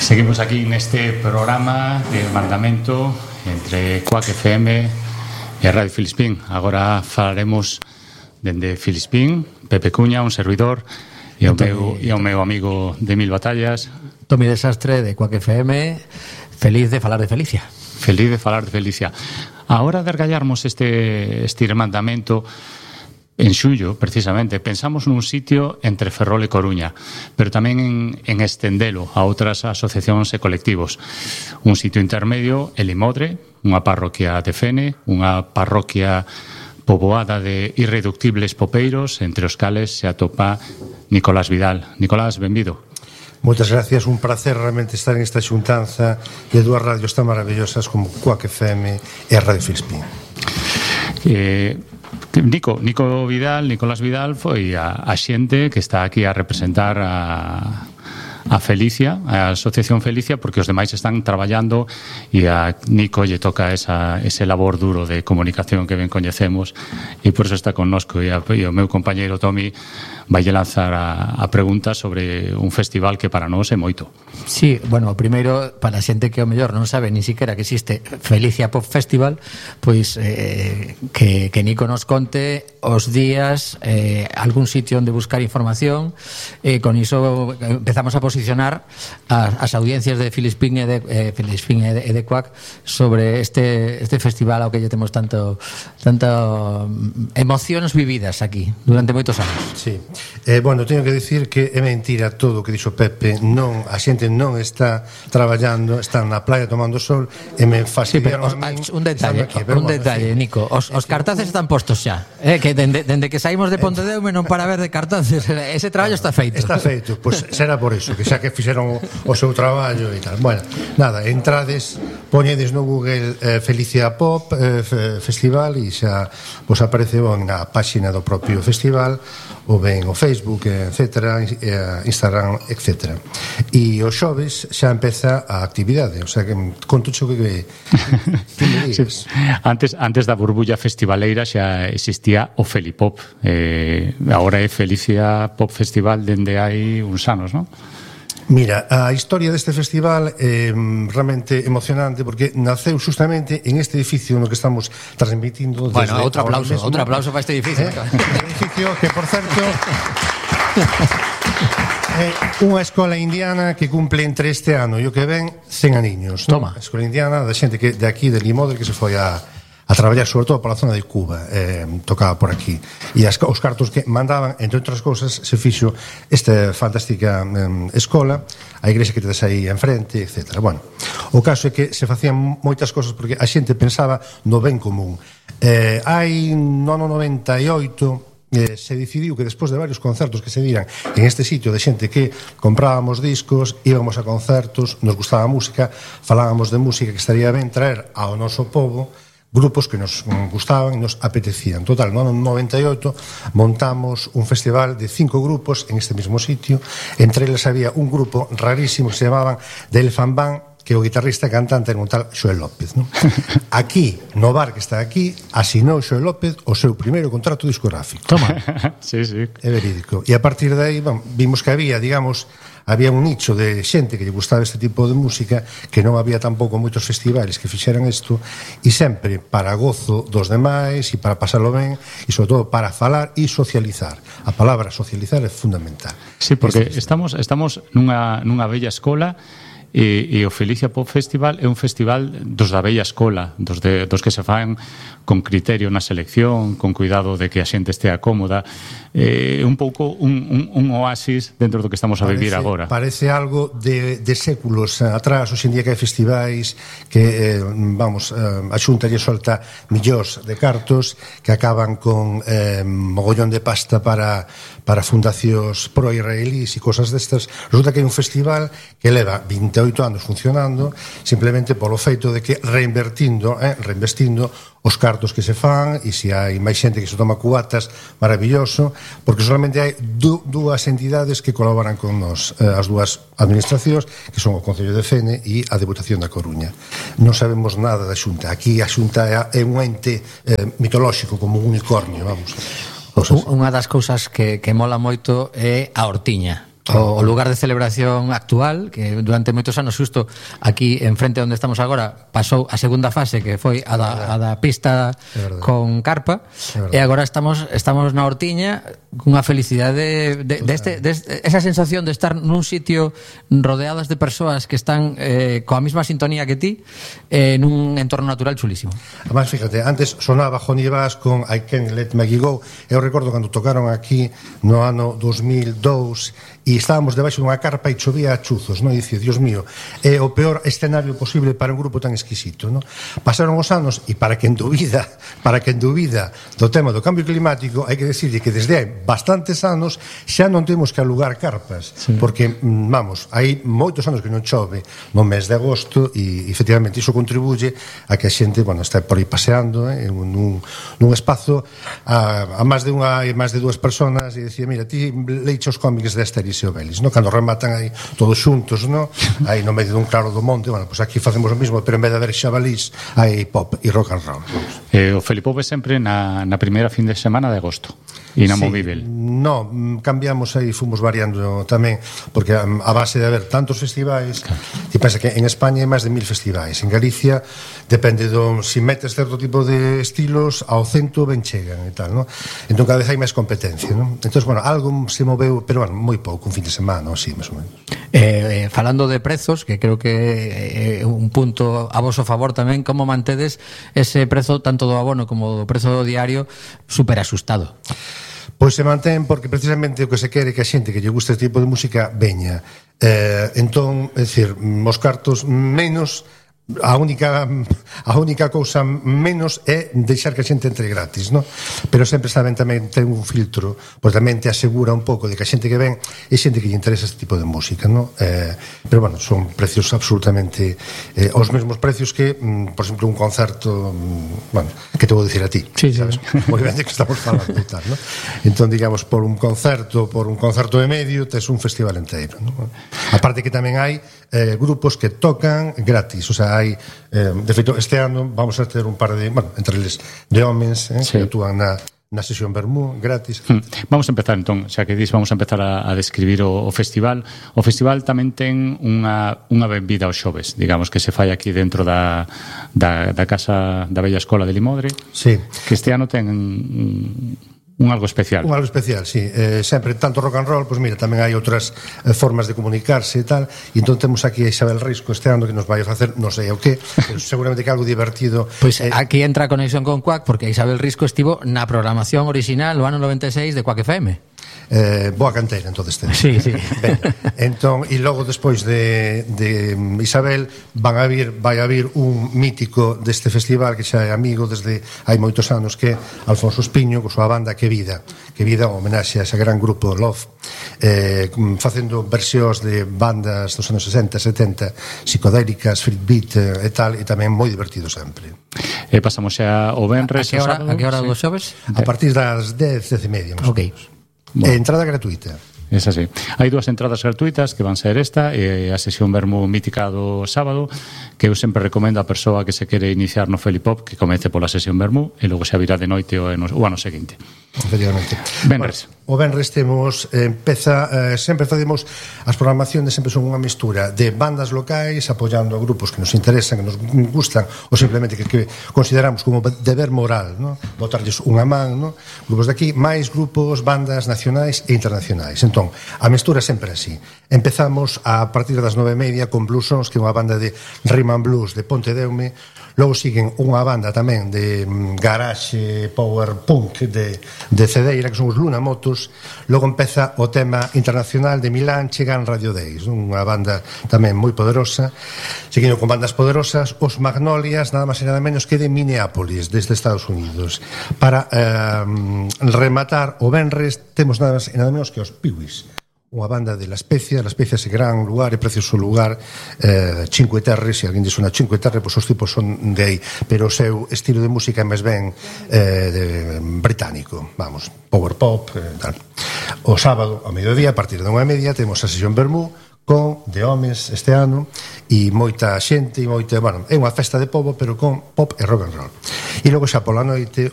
Seguimos aquí neste programa de mandamento entre Cuac FM e Radio Filispín. Agora falaremos dende Filispín, Pepe Cuña, un servidor, e o meu amigo de Mil Batallas, Tomi Desastre, de Cuac FM. Feliz de falar de Felicia. Feliz de falar de Felicia. A hora de argallarmos este mandamento en xullo, precisamente, pensamos nun sitio entre Ferrol e Coruña, pero tamén en estendelo a outras asociacións e colectivos. Un sitio intermedio, el Imodre, unha parroquia de Fene, unha parroquia poboada de irreductibles popeiros, entre os cales se atopa Nicolás Vidal. Nicolás, benvido. Moitas gracias, un placer realmente estar en esta xuntanza de dúas radios tan maravillosas como Cuac FM e Radio Filispín. Nicolás Vidal foi a xente que está aquí a representar a Felicia, a Asociación Felicia, porque os demais están traballando e a Nico lle toca ese labor duro de comunicación que ben coñecemos, e por eso está connosco, e o meu compañeiro Tomi vai lanzar a pregunta sobre un festival que para nós é moito. Sí, bueno, primeiro, para a xente que o mellor non sabe ni siquiera que existe Felicia Pop Festival, pois que Nico nos conte os días, algún sitio onde buscar información, e con iso empezamos a posicionar as audiencias de Filispín e de Cuac sobre este festival ao que lle temos tanto emocións vividas aquí durante moitos anos. Sí. Bueno, teño que dicir que é mentira todo o que dixo Pepe. Non, a xente non está traballando, está na playa tomando sol, e me fastidiaron a min. Un detalle, Nico, os cartaces están postos xa, que dende que saímos de Pontedeume non para ver de cartaces. Ese traballo está feito. Está feito, pois será por eso, que xa que fixeron o seu traballo e tal. Bueno, nada, entrades, poñedes no Google Felicia Pop Festival e xa vos aparece na páxina do propio festival, ou ben o Facebook, etcétera, Instagram, etcétera. E os xoves xa empeza a actividade, o sea que conto xo que me digas. Antes da burbulla festivaleira xa existía o Felipop, agora é Felicia Pop Festival dende hai uns anos, non? Mira, a historia deste festival é realmente emocionante porque naceu justamente en este edificio no que estamos transmitindo. Bueno, outro aplauso para este edificio. Un edificio que, por certo, é unha escola indiana que cumple entre este ano e o que ven 100 aniños. Toma. A escola indiana da xente que de aquí, de Limodre, que se foi a traballar sobre todo pola zona de Cuba, tocaba por aquí, e os cartos que mandaban, entre outras cousas, se fixo esta fantástica escola, a igrexa que tedes aí enfrente, etc. Bueno, o caso é que se facían moitas cousas porque a xente pensaba no ben común. Hai no ano 98 se decidiu que despois de varios concertos que se diran en este sitio de xente que comprábamos discos, íbamos a concertos, nos gustaba a música, falábamos de música, que estaría ben traer ao noso pobo grupos que nos gustaban e nos apetecían. Total, no ano 98 montamos un festival de 5 grupos en este mismo sitio. Entre eles había un grupo rarísimo que se llamaban The Elephant Band, que o guitarrista e cantante era un tal Xoel López, non? Aquí, no bar que está aquí, asinou Xoel López o seu primeiro contrato discográfico. Toma. Sí. É verídico. E a partir de aí, vimos que había un nicho de xente que lle gustaba este tipo de música, que non había tampouco moitos festivales que fixeran isto, e sempre para gozo dos demais e para pasalo ben, e sobre todo para falar e socializar. A palabra socializar é fundamental. Sí, porque estamos nunha bella escola, e o Felicia Pop Festival é un festival dos da bella escola, dos que se fan con criterio na selección, con cuidado de que a xente estea cómoda, un pouco un oasis dentro do que estamos a vivir agora. Parece algo de séculos atrás. Hoxe en día que hai festivais que, a Xunta lle solta millóns de cartos que acaban con mogollón de pasta para fundacións pro-israelís e cosas destas. Resulta que hai un festival que leva 28 anos funcionando simplemente polo feito de que reinvestindo os cartos que se fan, e se hai máis xente que se toma cubatas, maravilloso, porque solamente hai dúas entidades que colaboran con nos, as dúas administracións, que son o Concello de Fene e a Deputación da Coruña. Non sabemos nada da Xunta. Aquí a Xunta é un ente mitolóxico, como un unicornio, vamos. Unha das cousas que mola moito é a hortiña. o lugar de celebración actual, que durante moitos anos xusto aquí enfrente onde estamos agora pasou a segunda fase, que foi a da pista con carpa, e agora estamos na hortiña cunha felicidade esa sensación de estar nun sitio rodeadas de persoas que están coa mesma sintonía que ti, nun entorno natural chulísimo. Además, fíjate, antes sonaba Johnny Bass con I Can't Let Maggie Go. Eu recordo cando tocaron aquí no ano 2002 e estábamos debaixo dunha carpa e chovía a chuzos, non? E dicía, Dios mío, é o peor escenario posible para un grupo tan exquisito, non? Pasaron os anos e para quen dubida do tema do cambio climático, hai que decirle que desde hai bastantes anos xa non temos que alugar carpas, porque, vamos, hai moitos anos que non chove no mes de agosto e, efectivamente, iso contribuye a que a xente, bueno, está por aí paseando nun espazo a máis de dúas personas e dicía, mira, ti leiche os cómics de Asterix e Obelix, no? Cando rematan aí todos xuntos, no? Aí no medio dun claro do monte, bueno, pues aquí facemos o mismo, pero en vez de haber xabalís hai pop e rock and roll. O Felipop é sempre na primeira fin de semana de agosto, inamovível. No, cambiamos aí, fomos variando tamén, porque a base de haber tantos festivais, ti pensa que en España hai máis de 1000 festivais, en Galicia depende si metes certo tipo de estilos ao cento ben chegan e tal, no? Entón cada vez hai máis competencia, no? Entón, bueno, algo se moveu, pero bueno, moi pouco, un fin de semana, así, máis ou menos. Falando de prezos, que creo que é un punto a voso favor tamén, como mantedes ese prezo tanto do abono como do prezo do diario super asustado? Pois se mantén porque precisamente o que se quere que a xente que lle gusta este tipo de música veña. Entón, é dicir, os cartos menos, a única cousa menos é deixar que a xente entre gratis, no? Pero sempre saben tamén ten un filtro, pois tamén te asegura un pouco de que a xente que ven é xente que lle interesa este tipo de música, no? Pero bueno, son precios absolutamente os mesmos precios que, por exemplo, un concerto, bueno, que te vou dicir a ti, sabes? Moi ben de que estamos falando e tal, no? Entón, digamos, por un concerto e medio tes un festival inteiro, no? Aparte que tamén hai grupos que tocan gratis, o sea, hai, de feito, este ano vamos a ter un par de, bueno, entre eles de homens, que actúan na sesión Vermú, gratis. Vamos a empezar, entón, xa que dis, vamos a empezar a describir o festival. O festival tamén ten unha benvida aos xoves, digamos, que se fai aquí dentro da Casa da Bella Escola de Limodre, que este ano ten un algo especial. Un algo especial, sí. Sempre tanto rock and roll, pois mira, tamén hai outras formas de comunicarse e tal, e entón temos aquí a Isabel Risco este ano que nos vai a facer, non sei o que, pero seguramente que algo divertido. Pois aquí entra a conexión con Quack, porque Isabel Risco estivo na programación original no ano 96 de Quack FM. Boa canteira, entonces ten. Sí. Ben, entón, e logo despois de Isabel vai haber un mítico deste festival que xa é amigo desde hai moitos anos, que é Alfonso Espiño, con súa banda Que Vida, homenaxe a ese gran grupo Love, facendo versións de bandas dos anos 60, 70, psicodélicas, freak beat e tal, e tamén moi divertido sempre. Pasamos xa o venres. A que hora dos xoves? A partir das 10:30, máis ou menos. Entrada gratuita. É así. Hai dúas entradas gratuitas que van ser esta e a sesión Vermú mítica do sábado, que eu sempre recomendo a persoa que se quere iniciar no Felipop que comece pola sesión Vermú e logo xa virá de noite o ano seguinte. Efectivamente. Venres. O venres temos sempre facemos as programacións, sempre son unha mistura de bandas locais apoiando a grupos que nos interesan, que nos gustan, ou simplemente que consideramos como deber moral, no? Botarlles unha man, no? Grupos de aquí, máis grupos, bandas nacionais e internacionais. Entón, a mistura é sempre así. Empezamos a partir das 9:30 con Blues Sons, que é unha banda de rhythm and blues de Pontedeume. Logo siguen unha banda tamén de garage power punk de Cedeira, que son os Luna Motos. Logo empeza o tema internacional de Milán, chegan Radio Days, unha banda tamén moi poderosa. Seguindo con bandas poderosas, os Magnolias, nada máis e nada menos que de Minneapolis, desde Estados Unidos. Para rematar o venres temos nada máis e nada menos que os Piwis, unha banda de La Spezia é gran lugar e precioso lugar, Cinque Terre, se alguén dice unha Cinque Terre, pois os tipos son de aí, pero o seu estilo de música é máis ben británico, vamos, power pop, tal. O sábado, ao mediodía, a partir de 1:30, temos a sesión Vermú con de homes este ano e moita xente e moita, bueno, é unha festa de pobo, pero con pop e rock and roll. E logo xa pola noite